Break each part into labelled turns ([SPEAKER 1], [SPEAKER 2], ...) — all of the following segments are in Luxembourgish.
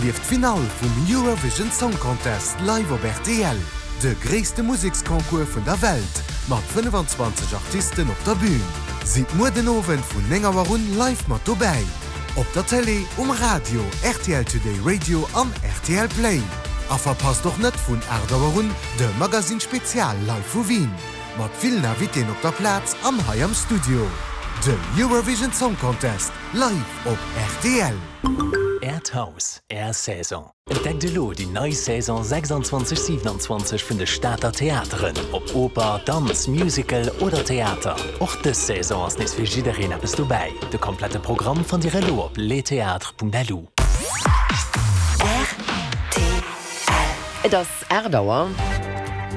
[SPEAKER 1] Erlieft d'Finall vum Eurovision Song Contest live op rtl, de gréisste Museksconcours vun der Welt mat 25 Artisten op der Bün. Sidd muer den Owend vun 9 Auer un live mat dobäi, op der Télé, um Radio, rtl Today Radio an rtl Play. A verpasst och net vun 8 Auer un de Magazine Spezial live vu Wien, mat villen Invitéen op der Plaz an hei am Studio. De Eurovision Song Contest live op rtl.
[SPEAKER 2] Äert Haus, Är Saison. Entdeckt elo déi nei Saison 26, 27 vun de Stater Theateren, ob Oper, Danz, Musical oder Theater. Och dës Saison ass nees fir jiddereen eppes dobäi. De komplette Programm fannt Dir elo op lestheatres.lu.
[SPEAKER 3] Et ass 8 Auer.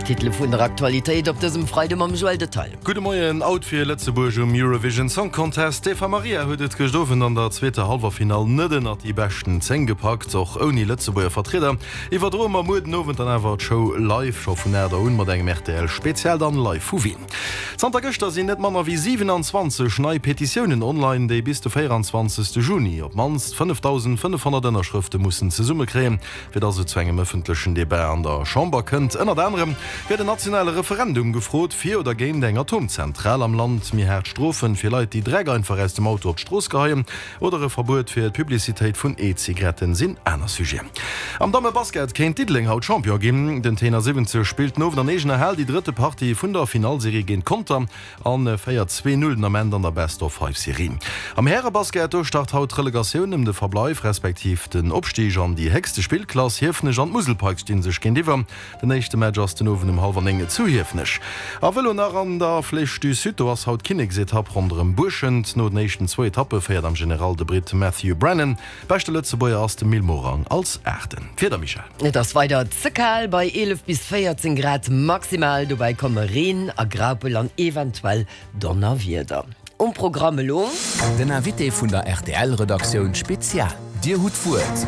[SPEAKER 3] D'Titele vun der Aktualitéit op dësem Freide mam Joël Detaille.
[SPEAKER 4] Gudde Moien. Out fir Lëtzebuerg um Eurovision Song Contest. D'Eva Marija huet et gëscht Owend an der zweeter Hallwerfinall net ënnert déi beschten 10 gepackt. Och ouni Lëtzebuerger Vertrieder iwwerdroe mer muer den Owend dann awer d'Show live, scho vun 8 Auer un mat engem rtl Spezial dann live vu Wien. Zanter gëschter sinn net manner wéi 27 nei Petitiounen online, déi bis de 24 Juni op d'mannst 5.500 Ënnerschrëfte mussen zesummekréien. fir dass et zu engem ëffentlechen Debat an der Chamber kënnt. Ënnert anerem gëtt en nationale Referendum gefrot, fir oder géint eng Atomzentral am Land, méi haart Strofen fir Leit, déi Dreck einfach aus dem Auto op d'Strooss geheien, oder e Verbuet fir d'Publicitéit vun E-Zigaretten sinn aner Sujeten. Am Damme-Basket kéint Diddeleng haut Champion ginn. Den Tenor 70 spillt den Owend an eegener Hal déi drëtte Partie vun der Finallserie géint Conter. An féiert 2, 0 den Ament an der Best-of-Five-Serie. Am Härebasket, do start haut d'Relegatioun ëm de Verbleif respektiv den Opstig an déi héchste Spillklass. Hiefenech an d'Musel Pikes sti sech géintiwwer. Den éischte Match ass den Owend um hallwer 9 zu Hiefenech. A Vëlo nach an der Flèche du Sud, do ass haut d'Kinneksetapp ronderëm Buerschent. No den éischten zwou Etappe féiert am General de Britt Matthew Brennan. Beschte Lëtzebuerger ass de Mil Morang als Aachten. D'Wieder, Michèle?
[SPEAKER 3] Et ass weider ze kal bei 11 bis 14 Grad maximal. Dobäi komme Reen a Graupel an eventuell Donnerwieder. Um Programm elo.
[SPEAKER 2] Den Invité vun der RTL-Redaktioun Spezial. Dir hutt d'Wuert.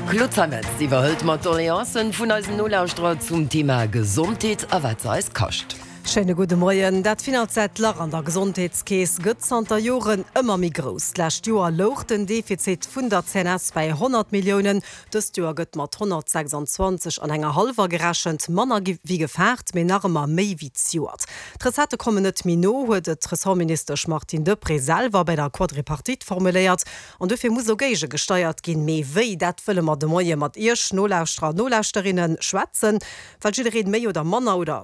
[SPEAKER 3] D'Claude Zeimetz iwwerhëlt mat Doleancen vun eisen Nolauschterer zum Thema Gesondheet a wat se eis kascht.
[SPEAKER 5] Schéine gudde Moien. Dat finanziellt Lach an der Gesondheetskeess gëtt zanter Joren ëmmer méi grouss. D'lescht Joer louch den Defizit vun der CNS bäi 100 Milliounen. Dëst Joer gëtt mat 126 an enger hallwer gerechent, manner wéi gefaart, mee nach ëmmer méi wéi zejoert. D'Recettë kommen net méi no, huet et d'Ressortministesch Martine Deprez selwer bäi der Quadripartite formuléiert. An dofir muss elo géigegesteiert ginn. Mee wéi, dat wëlle mer de Moie mat Iech, Nolauschterer an Nolauschterinnen, schwätzen. Well jiddereen méi oder manner oder.